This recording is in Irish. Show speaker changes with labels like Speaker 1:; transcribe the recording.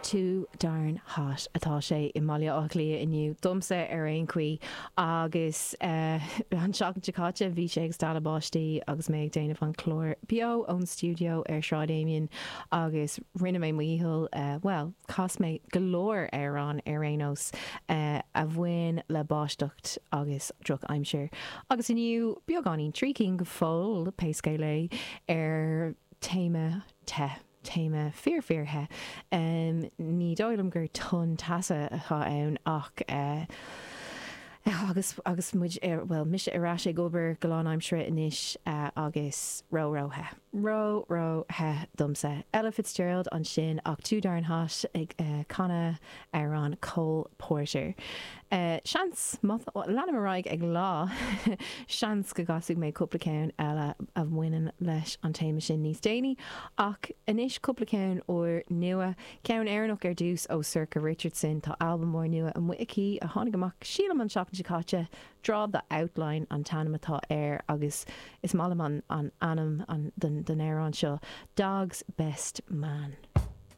Speaker 1: Too darn hot atá sé i mBaile Átha Cliath inniu, domsa ar aon chaoi, agus an tseachtain seo caite bhí sé ag stealladh báistí agus mé ag déanamh an chláir beo ón stiúideo ar Shráid Amiens agus rinne mé mo dhícheall, bhuel, chas mé go leor amhrán ar aon nós a bhain le báisteacht agus drochaimsir. Agus inniu, beagáinín, 3 cinn go fóill, pé scéal é, ar téama te. Téama fíor fíor the. Ní dóigh liom gur tonn teasa atá ann ach agus agus muid ar, bhuel, mise ar ais ag obair go lánaimseartha anois agus ró ró the. Ró ró the domsa. Ella Fitzgerald ansin ach Too Darn Hot ag canadh amhrán Cole Porter. Seans, má leanaim ar aghaidh ag lá, seans go gcasfaidh mé cúpla ceann eile a bhaineann leis an téama sin níos déanaí. Ach anois cúpla ceann úr nua. Ceann Éireannach ar dtús ó Sorcha Richardson. Tá albam úr nua amuigh aici a tháinig amach sílim an tseachtain seo caite. Draw the Outline an t-ainm atá air agus is maith liom an ainm don amhrán seo, Dog's Best Man.